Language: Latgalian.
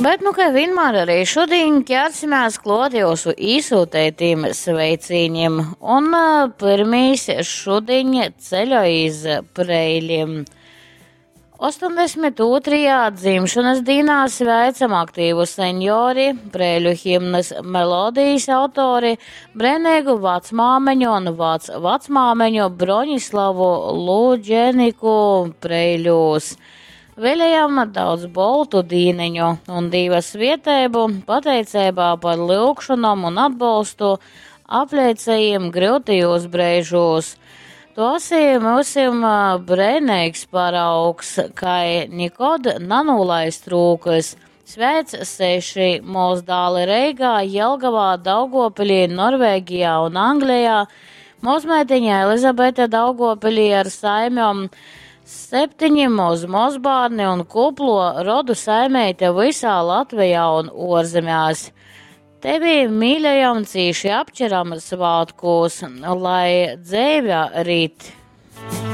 Bet, nu, kai vienmēr arī šodien ķersimies klāt jūsu īsūtētīm sveicīņiem. Un pirmīs šodien ceļoj iz Preiļiem. 82. dzimšanas dīnā sveicam aktīvu senjori, Preiļu himnas melodijas autori, brēnīgu vecmāmeņu un vec vecmāmeņu Broņislavu Lūdženiku Preiļūs. Vēlējam daudz boltu dīneņu un Dīva svietēbu, pateicībā par lyugšanom un atbalstu apleicējiem gryutījos breižūs. Tu esi myusim brēneigs paraugs, kai nikod nanūlaist rūkas. Sveic seši mozdāli Reigā, Jelgavā, Daugopilī, Norvēģijā un Anglijā, mozmeitiņa Elizabete Daugopilī ar saimjom, septiņi moz mozbārni un kuplo rodu saimeite visā Latvijā un orzemēs. Tevi mīļajam cīši apčeram svātkūs, lai dzeive rit.